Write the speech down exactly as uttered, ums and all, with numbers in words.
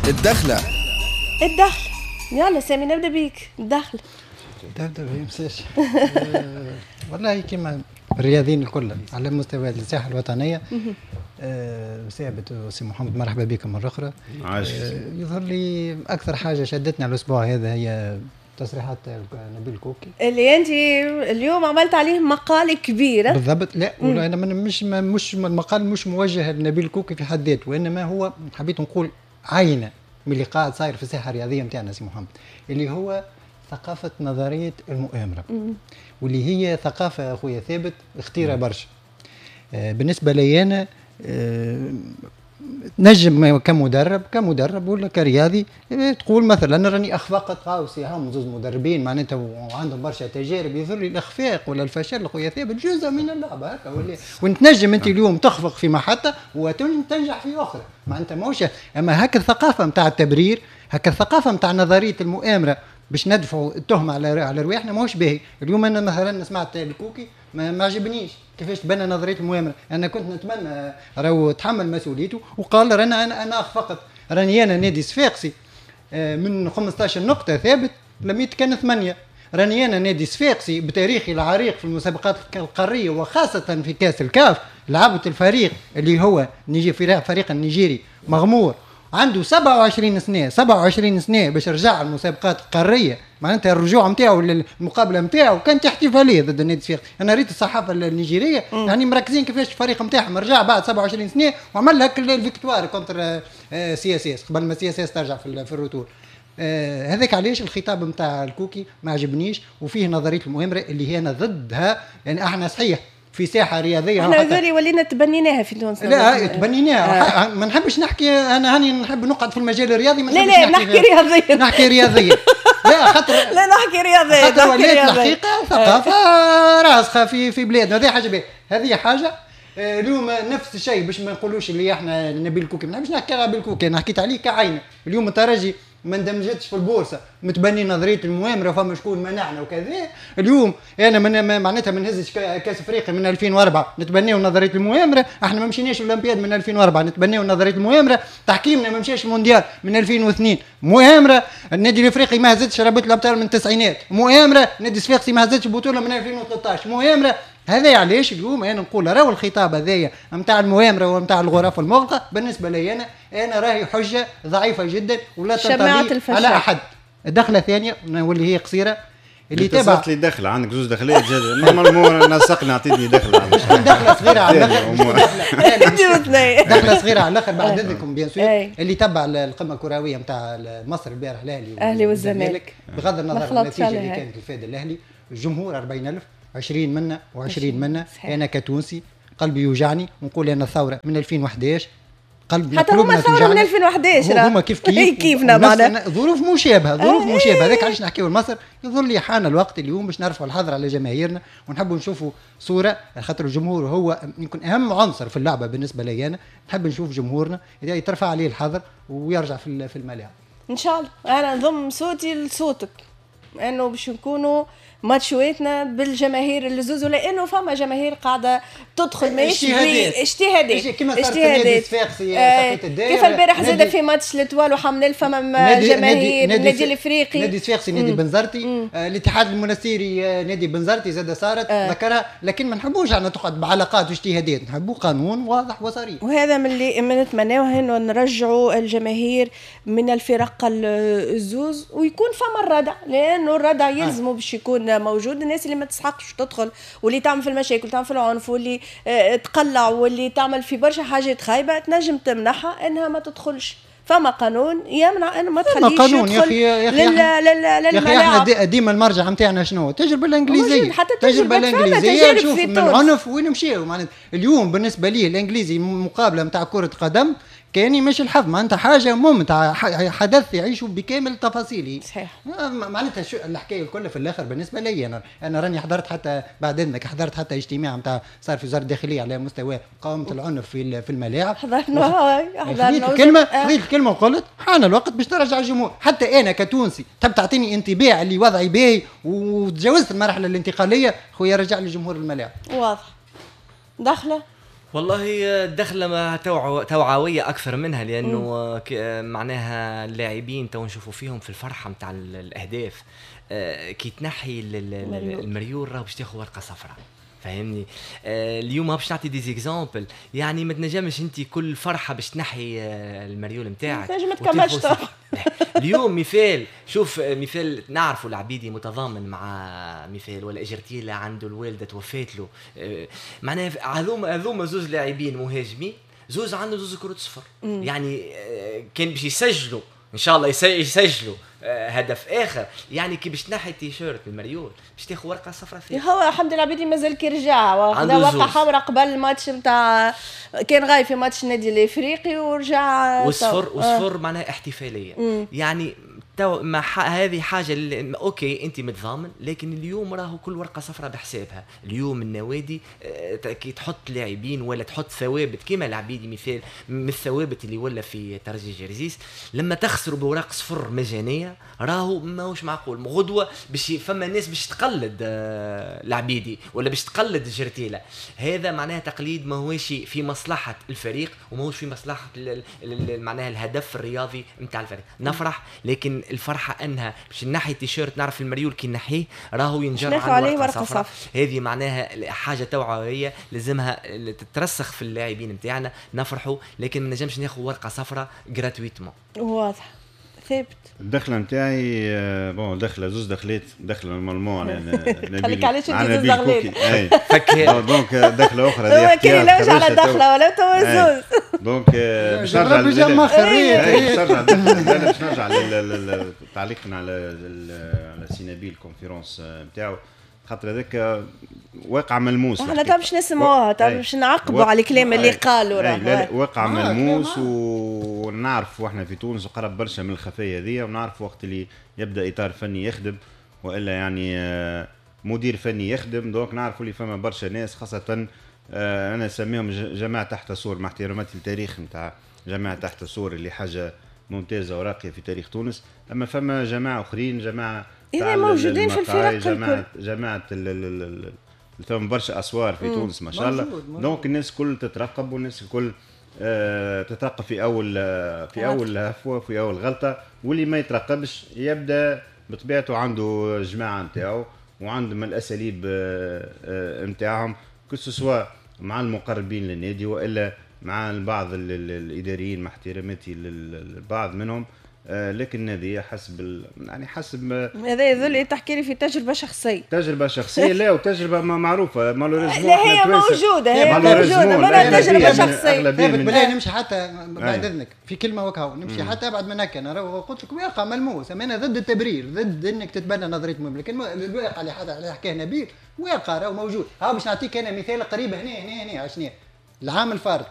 الدخلة. الدخلة، يلا سامي نبدا بيك. الدخلة نبدا بيك. والله كما الرياضيين الكل على مستوى الساحة الوطنية. ثابت سي محمد، مرحبا بكم مرة اخرى. عايش. يظهر لي اكثر حاجة شدتنا الاسبوع هذا هي تصريحات نبيل الكوكي اللي انت اليوم عملت عليه مقال كبير. بالضبط. لا انا مش مش المقال مش موجه لنبيل الكوكي في حد ذاته، وانما هو حبيت نقول عينه من اللي قاعد صاير في الساحة الرياضية نتاعنا سي محمد، اللي هو ثقافة نظرية المؤامرة. مم. واللي هي ثقافة اخويا ثابت خطيرة برشا. آه بالنسبة لي انا آه نجم كمدرب كمدرب ولا كرياضي تقول مثلا راني اخفقت قاوسي، هم زوز مدربين معناتها وعندهم برشا تجارب، يظهر لي الاخفاق ولا الفشل خويا ثابت جزء من اللعبة هكا، ولا وتنجم انت اليوم تخفق في محطة وتنجح في اخرى، معناتها ماهوش. اما هكا الثقافة نتاع التبرير، هكا الثقافة نتاع نظرية المؤامرة باش ندفعوا التهمة على على رواحنا ماهوش باهي. اليوم انا مثلا سمعت الكوكي ما, ما عجبنيش كيفاش تبنى نظرية المؤامرة، انا كنت نتمنى راهو تحمل مسؤوليته وقال رانا انا انا اخفقت، راني انا نادي صفاقسي من خمسطاش نقطة ثابت لميت كان ثمانية، راني انا نادي صفاقسي بتاريخي العريق في المسابقات القارية وخاصة في كاس الكاف، لعبت الفريق اللي هو نيجي فريق النيجيري مغمور عنده سبعة وعشرين سنة، سبعة وعشرين سنة باش رجع المسابقات القارية، معناتها الرجوع نتاعو للمقابله نتاعو كانت احتفالية ضد النادي الصفاقسي. انا ريت الصحافة النيجيريه يعني مركزين كيفاش الفريق نتاعهم رجع بعد سبعة وعشرين سنة وعمل هك ال victoire contre CSS قبل ما CSS ترجع في في ال retour. آه هذاك علاش الخطاب نتاع الكوكي ما عجبنيش وفيه نظرية المؤامرة اللي هي انا ضدها. يعني احنا صحيح في ساحة رياضية احنا هذول ولينا تبنيناها في تونس. لا تبنيناها آه. ما نحبش نحكي انا، هاني نحب نقعد في المجال الرياضي، ما لا لا نحكي رياضيا نحكي رياضيا لا خاطر لا نحكي رياضيا خاطر ولات الحقيقة ثقافة راسخة في في بلادنا. هذه حاجة باهيه، هذه حاجة. اليوم نفس الشيء باش ما نقولوش اللي احنا نبيل الكوكي، ما نحبش نحكي على نبيل الكوكي، انا حكيت عليه كعينه. اليوم الترجي ما اندمجتش في البورصة، متبني نظرية المؤامرة فما شكون منعنا وكذا. اليوم انا من معناتها ما نهزش كاس افريقيا من ألفين وأربعة نتبنيو نظرية المؤامرة، احنا ما مشيناش الاولمبياد من ألفين وأربعة نتبنيو نظرية المؤامرة، تحكيمنا ما مشاش المونديال من ألفين واثنين مؤامرة، النادي الافريقي ما هزتش رابطه الابطال من التسعينات مؤامرة، النادي الصفاقسي ما هزتش بطوله من ألفين وثلاثطاش مؤامرة. هذا علاش اليوم انا نقول راهو الخطاب هذايا نتاع المؤامرة ونتاع الغرف المغلقة بالنسبة لي انا انا راهي حجه ضعيفة جدا ولا تنطلي على احد. الدخلة الثانية واللي هي قصيرة اللي تابع لي دخله، عندك زوج دخلات normalement نسقنا عطيتني دخله دخله صغيرة على الاخر، دخله صغيرة على الاخر بعد اذنكم bien sûr. اللي تبع القمه الكروية نتاع مصر البارح الاهلي الاهلي والزمالك، بغض النظر عن النتيجة اللي كانت الفائدة الاهلي، الجمهور أربعين ألف، عشرين منا وعشرين منا. انا كتونسي قلبي يوجعني ونقول انا الثورة من ألفين وحداش قلبنا حتى هما ثورة من ألفين وحداش هما كيف كيف كيفنا معنا ظروف مشابهة، ظروف مشابهة. هذاك علاش نحكيو لمصر. يظهر لي حان الوقت اليوم باش نرفعوا الحظر على جماهيرنا ونحبوا نشوفوا صوره، خاطر الجمهور هو يمكن اهم عنصر في اللعبة بالنسبة لي انا. نحب نشوف جمهورنا يترفع عليه الحظر ويرجع في في الملاعب ان شاء الله. انا نضم صوتي لصوتك انه باش نكونوا ماتشواتنا بالجماهير اللزوز، لانه فما جماهير قاعدة تدخل ماهيش اجتهادات كيما صارت النادي الصفاقسي آه كيف البارح زاد في ماتش l'Étoile وحمل فما جماهير النادي الافريقي، نادي الصفاقسي، نادي بنزرتي، آه الاتحاد المنستيري، آه نادي بنزرتي زاد صارت آه. ذكرها. لكن ما نحبوش احنا تقعد بعلاقات واجتهادات، نحبوا قانون واضح وصريح. وهذا من اللي نتمناوه انه نرجعوا الجماهير من الفرق الزوز ويكون فما الردع، لانه الردع يلزمه باش يكون موجود. الناس اللي ما تسحقش تدخل واللي تعمل في المشاكل تعمل في العنف واللي تقلع واللي تعمل في برشا حاجات خايبة تنجم تمنعها انها ما تدخلش. فما قانون يمنع انه ما تخليش قانون يدخل يا اخي يا اخي لل لل احنا ديما المرجع نتاعنا شنو؟ التجربة الانجليزية. حتى التجربة الانجليزية نشوف من عنف وين مشاو. معناتها اليوم بالنسبة لي الانجليزي مقابله نتاع كره قدم كاني مش الحظ، معناتها حاجة ممتعة، حدث يعيشوا بكامل تفاصيله. صحيح. معناتها شو الحكاية الكل في الاخر بالنسبة لي انا، انا راني حضرت حتى بعد اذنك حضرت حتى اجتماع نتاع صار في وزارة الداخلية على مستوى مقاومة العنف في في الملاعب. حضرنا حضرنا الكلمة، خذيت الكلمة وقلت حان الوقت باش ترجع الجمهور. حتى انا كتونسي تحب تعطيني انطباع اللي وضعي باهي وتجاوزت المرحلة الانتقالية، خويا رجع لي جمهور الملاعب. واضح. دخله والله الدخلة توعوية اكثر منها، لانه معناها اللاعبين تو نشوفوا فيهم في الفرحة نتاع الاهداف، كي تنحي المريول راه باش تاخذ ورقة صفراء، فاهمني؟ آه اليوم باش نعطي des exemples، يعني ما تنجمش انت كل فرحه باش تنحي المريول نتاعك، تنجم ما تكملش. اليوم مثال، شوف مثال نعرفوا العبيدي متضامن مع مثال، ولا اجرتيلا عنده الوالدة توفات له، آه معناها هذوما هذوما زوز لاعبين مهاجمين، زوز عنده زوز كروت صفر، يعني آه كان باش يسجلوا ان شاء الله يسجلوا هدف اخر، يعني كي باش تنحي التيشيرت المريول باش تاخذ ورقة صفراء فيه. هو حمدي العبيدي مازال كي رجع واخذ ورقة حمراء قبل الماتش نتاع، كان غايب في ماتش النادي الافريقي ورجع وصفر وصفر آه. معناها احتفالية. مم. يعني تو ما هذه حاجة اللي okay انت متضامن، لكن اليوم راهو كل ورقة صفراء بحسابها. اليوم النوادي كي تحط لاعبين ولا تحط ثوابت كيما العبيدي مثال من الثوابت اللي ولا في ترجي جرزيس، لما تخسروا بوراق صفر مجانية راهو ماهوش معقول. غدوه باش فما ناس باش تقلد العبيدي ولا باش تقلد الجرتيله، هذا معناها تقليد ماهوش في مصلحة الفريق وماهوش في مصلحة معناها الهدف الرياضي نتاع الفريق. نفرح، لكن الفرحة انها باش نحي التيشيرت، نعرف المريول كي نحيه راهو ينجر على ورقة صفراء. هذه معناها حاجة توعوية لازمها تترسخ في اللاعبين نتاعنا. نفرحوا لكن ما نجمش ناخذ ورقة صفراء gratuitement. واضح ثابت. الدخلة نتاعي bon دخله زوز دخلات، دخله normalement نبيل علاش انت زوز دخلات donc دخله اخرى هو كان يلوج على دخله ولا تو زوز. donc باش نرجع باش نرجع باش نرجع تعليقنا على على سي نبيل conférence نتاعو، خاطر هذاك واقع ملموس. احنا تو باش نسمعوها، تو باش نعقبوا على الكلام اللي قالوا، راه واقع ملموس ونعرف احنا في تونس وقرب برشا من الخفايا هذيا، ونعرف وقت اللي يبدا اطار فني يخدم والا يعني مدير فني يخدم، donc نعرفوا اللي فما برشا ناس، خاصة انا نسميهم جماعة تحت سور، مع احتراماتي للتاريخ نتاع جماعة تحت سور اللي حاجة ممتازة وراقيه في تاريخ تونس، اما فما جماعة اخرين، جماعة إذا موجودين في الفرق جماعة جماعة ثم برشا أسوار في تونس ما شاء الله. donc الناس الكل تترقب، والناس الكل آه تترقب في أول في أول هفوة، في أول غلطة، واللي ما يترقبش يبدأ بطبيعته عنده جماعة نتاعو وعندهم الأساليب نتاعهم، que ce soit مع المقربين للنادي وإلا مع البعض الإداريين، مع احتراماتي للبعض منهم، لكن هذه حسب ال... يعني حسب هذا يظل تحكي لي في تجربه شخصية، تجربه شخصية لا، وتجربه ما معروفة malheureusement، لا هي موجودة، هي موجودة ما تجربه شخصية. بالله نمشي حتى بعد اذنك في كلمة وكهو، نمشي حتى ابعد من هكا. انا قلت لك واقع ملموس، انا ضد التبرير، ضد انك تتبنى نظرية المهم، لكن الواقع اللي اللي حكاه نبيل واقع راهو موجود. ها باش نعطيك انا مثال قريب هنا هنا هنا شنو العام الفارط